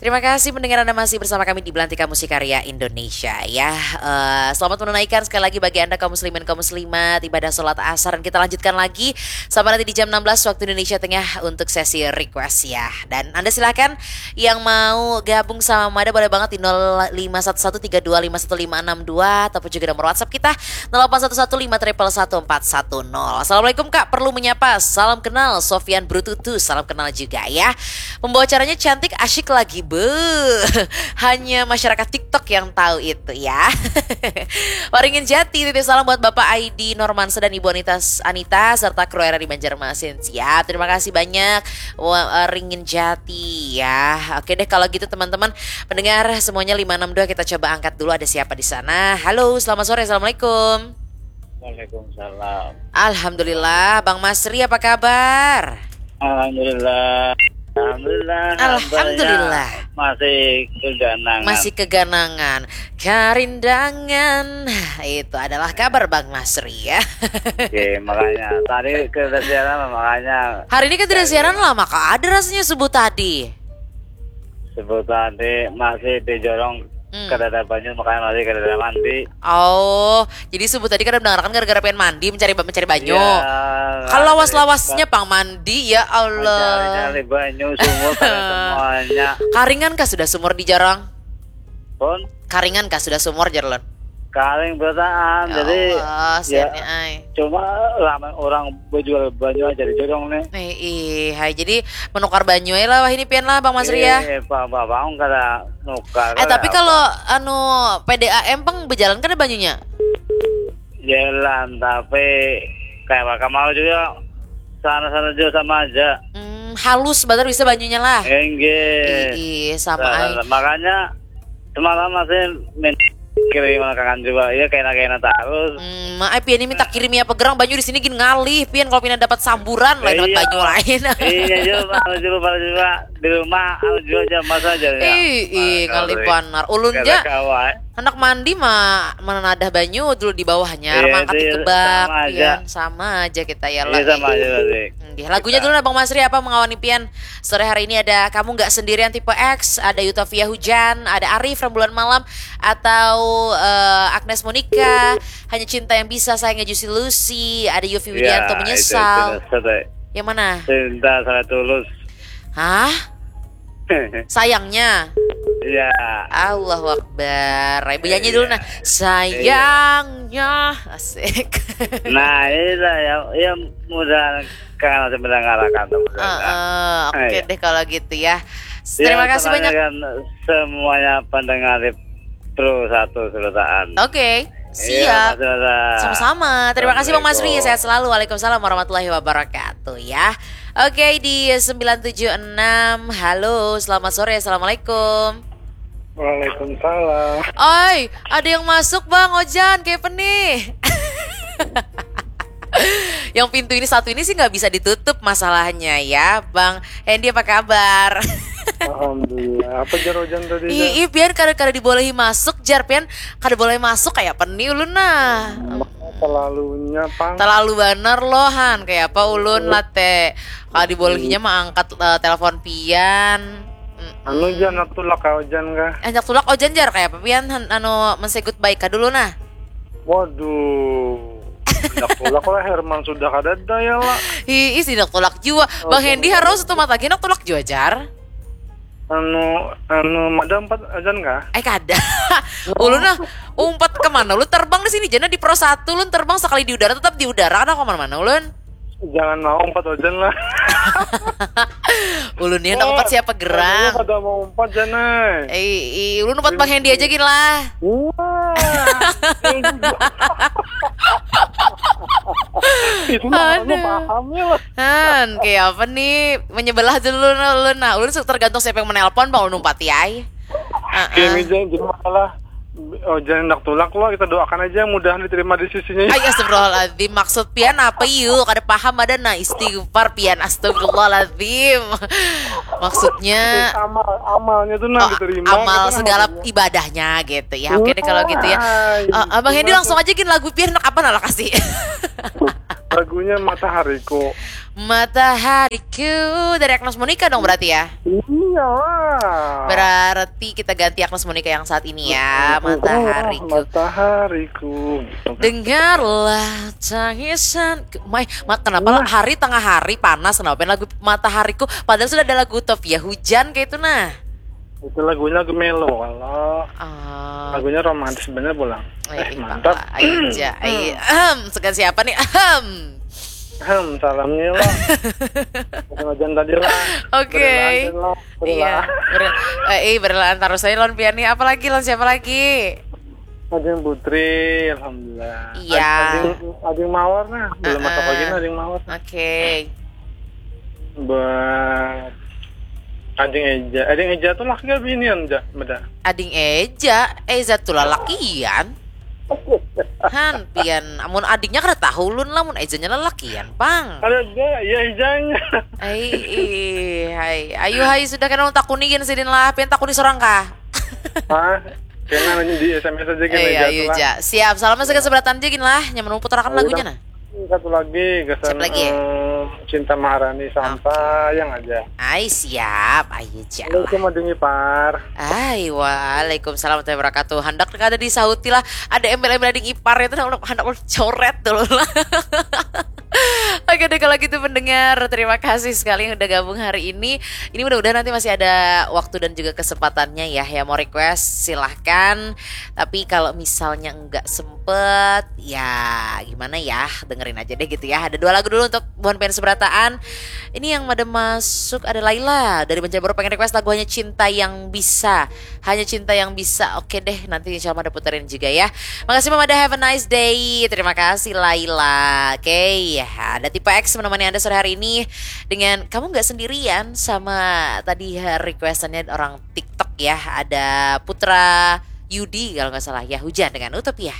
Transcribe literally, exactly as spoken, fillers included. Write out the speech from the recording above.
Terima kasih pendengar Anda masih bersama kami di Belantika Musik Karya Indonesia ya. Eh, selamat menunaikan sekali lagi bagi Anda kaum muslimin kaum muslimat ibadah sholat asar, dan kita lanjutkan lagi sama nanti di jam enam belas waktu Indonesia Tengah untuk sesi request ya. Dan Anda silahkan yang mau gabung sama Mada boleh banget di nol lima satu satu tiga dua lima satu lima enam dua ataupun juga nomor WhatsApp kita nol delapan satu satu lima triple satu empat satu nol. Assalamualaikum Kak, perlu menyapa. Salam kenal Sofian Brututu, salam kenal juga ya. Pembawa acaranya cantik, asyik lagi, be. Hanya masyarakat TikTok yang tahu itu ya. Waringin Jati, titip salam buat Bapak Aidi Normansa dan Ibu Anita, Anita serta kru R R I Banjarmasin. Siap, terima kasih banyak. Waringin Jati ya. Oke deh, kalau gitu teman-teman pendengar semuanya lima enam dua, kita coba angkat dulu, ada siapa di sana. Halo, selamat sore. Assalamualaikum. Waalaikumsalam. Alhamdulillah, Bang Masri apa kabar? Alhamdulillah. Alhamdulillah. Alhamdulillah. Masih keganangan. Masih keganangan. Karindangan. Itu adalah kabar Bang Masri ya. Oke, makanya tadi kada siaran, makanya. Hari ini kan tidak siaran lah, maka ada rasanya subuh tadi. Subuh tadi masih di jorong, hmm, kada ada banyu, makanya masih kada ada mandi. Oh, jadi subuh tadi kada mendengarkan gara-gara pengen mandi, mencari mencari banyu. Ya, kalau lawas-lawasnya pang mandi, ya Allah. Mencari-cari banyu, sumur, kada semuanya. Karingan kah sudah sumur di jorong? Pun? Karingan kah sudah sumur, jar ulun? Karing berataan, ya jadi Allah, ya, siannya, ay. Cuma ramai orang berjual banyu aja di jorong nih. Nih, ih, hai, jadi menukar banyu aja lah wah ini pian lah, Bang Masri ya. Iya, Pak, Pak, Bang, kada nukar. Eh, tapi kalau anu P D A M pang berjalan kada banyunya? Jalan, tapi kayak apa, kamar juga sana-sana juga sama aja. Hmm, halus banar bisa banyunya lah. Enggak. Ih, sama, ay. Makanya semalam masih min kirim kangen juga, ya kena-kena terus. Hmm, maaf ya, ini minta kirim ya pegerang banyu di sini gin ngalih pian, kalau pina dapat samburan lain dapat banyu lain. Iya juga, juga, juga di rumah, aku juga aja masa aja. Ih, ih, ngalih banar. Ulun ja anak mandi mah menadah banyu dulu di bawahnya, iya, mangkat di kebak, sama aja. Pian, sama aja kita ya lah. Iya, sama aja berarti. Lagunya dulu nah Bang Masri, apa mengawani pian sore hari ini? Ada Kamu Nggak Sendirian tipe X, ada Yutavia Hujan, ada Arif Rembulan Malam, atau uh, Agnes Monica, Hanya Cinta Yang Bisa, Sayangnya Juicy Lucy, ada Yofi Widianto, ya, Menyesal. Itu, itu, yang mana? Cinta Sangat Tulus. Hah? Sayangnya. Iya. Allahu Akbar. Ibu nyanyi dulu nah. Iya. Sayangnya. Asik. Nah, itu ya, ya mudah kan masih mendengarkan. Uh, uh, oke deh kalau gitu ya. Terima kasih banyak. Semuanya pendengar di Pro satu Surutaan. Oke. Siap. Iya, sama-sama. Terima kasih Bang Masri. Sehat selalu. Waalaikumsalam warahmatullahi wabarakatuh ya. Oke, di sembilan tujuh enam. Halo, selamat sore. Assalamualaikum. Waalaikumsalam. Oi, ada yang masuk Bang Ojan, kayak apa nih? Yang pintu ini satu ini sih nggak bisa ditutup masalahnya ya, Bang Hendy apa kabar? Alhamdulillah. Apa jar Ojan tadi? Ih, ih, pian kada kada dibolehi masuk jar, pian kada boleh masuk kayak apa nih ulun nah. Terlalunya pang. Terlalu banar loh han, kayak apa ulun late. Kalau dibolehinya mah angkat uh, telepon pian. Anu jar nak tulak ka Ojan kah? Ajak tulak Ojan jar kayak apa pian anu men-say goodbye ka dulu nah. Waduh. Hendak tulak lah Herman sudah kada ada ya lah. Hi, is hendak tulak jua. Oh, Bang Hendy harus satu mata hendak tulak jua jar. Anu anu madam empat Ojan kah? Eh kada. Ulun nah umpat kemana? Ulun terbang di sini jana di Pro satu ulun terbang sekali di udara tetap di udara kada kemana-mana ulun. Jangan mau umpat Ojan lah. Ulun ni hendak umpat siapa gerang? Kada mau umpat Jan ai. Eh, ulun umpat Bang Hendy aja gin lah. Wah. Itu mah anu pahamnya lah. Han, kayak apa nih? Menyebelah dulu ulun nah. Ulun tergantung siapa yang menelpon bang ulun umpati ai. Heeh. Kini Jan, jadi masalah Ojan hendak tulak lo, kita doakan aja mudahan diterima di sisinya. Ay astagfirullahaladzim, maksud pian apa yuk? Kada paham ada nah istighfar pian astagfirullahaladzim. Maksudnya amal amalnya tuh nah oh, diterima. Amal gitu, segala ibadahnya gitu ya. Oke deh kalau gitu ya. Uh, Abang Hendy langsung aja gin lagu pian nak apa nah kasih. Lagunya Matahariku. Matahariku dari Agnes Monica dong berarti ya. Iyalah. Berarti kita ganti Agnes Monica yang saat ini ya. Matahariku. Matahariku. Dengarlah tangisan. Mai, mat kenapa lah hari tengah hari panas kenapa lagu Matahariku padahal sudah ada lagu Utopia hujan kayak itu nah. Itu lagunya lagu melo kalau Ah, lagunya romantis bener pulang. eh, Eh, mantap. Ayo aja. Ayo. Ahem, segan siapa nih? Ahem. Hmm, salamnya lah. Macam-macam tadi lah. Oke. Berelaan lah. Iya. Berelaan. Ber eh, eh, berlaan terus aja lawan pian nih. Apalagi lawan siapa lagi? Ajeng Putri, alhamdulillah. Iya. Ajeng, Ajeng Mawar nah, belum masuk Heeh. Lagi nah Ajeng Mawar. Oke. Buat Ajeng Eja, Ajeng Eja tuh laki apa binian ja, beda. Ading Eja, Eza tuh lalakian. Han, pian, amun adingnya kada tahu ulun lah, mun Ezanya lalakian, pang. Ada aja, ya Ejanya. Ai, ih, hai. Ayu hai sudah kena ulun takuni gin sidin lah, pian takuni sorang kah? Hah? Kena di S M S aja gini Eh, aja ayu tuh lah. Ja. Siap, salam segan seberatan ja gin lah, yang menurut puterakan Ayo, lagunya dong. nah. Satu lagi kesan Siapa lagi? eh, Cinta Maharani sampai yang aja. Ai, siap, ayu Ja. Assalamualaikum Ading Ipar. Ai, waalaikumsalam warahmatullahi wabarakatuh. Handak kada disahuti lah. Ada embel-embel ading ipar itu handak ulun coret dulu lah. Oke deh kalau gitu pendengar, terima kasih sekali yang udah gabung hari ini. Ini mudah-mudahan nanti masih ada waktu dan juga kesempatannya ya. Yang mau request silahkan. Tapi kalau misalnya nggak sempet, ya gimana ya, dengerin aja deh gitu ya. Ada dua lagu dulu untuk buhan pengen seberataan. Ini yang ada masuk ada Laila dari Banjarbaru pengen request lagu Hanya Cinta Yang Bisa. Hanya Cinta Yang Bisa. Oke deh, nanti insya Allah ada puterin juga ya. Makasih Mama ada have a nice day. Terima kasih Laila. Oke, ya, ada Tipe X menemani Anda sore hari ini dengan kamu nggak sendirian sama tadi requestannya orang TikTok ya. Ada Putra Yudi kalau nggak salah ya, Hujan dengan Utopia.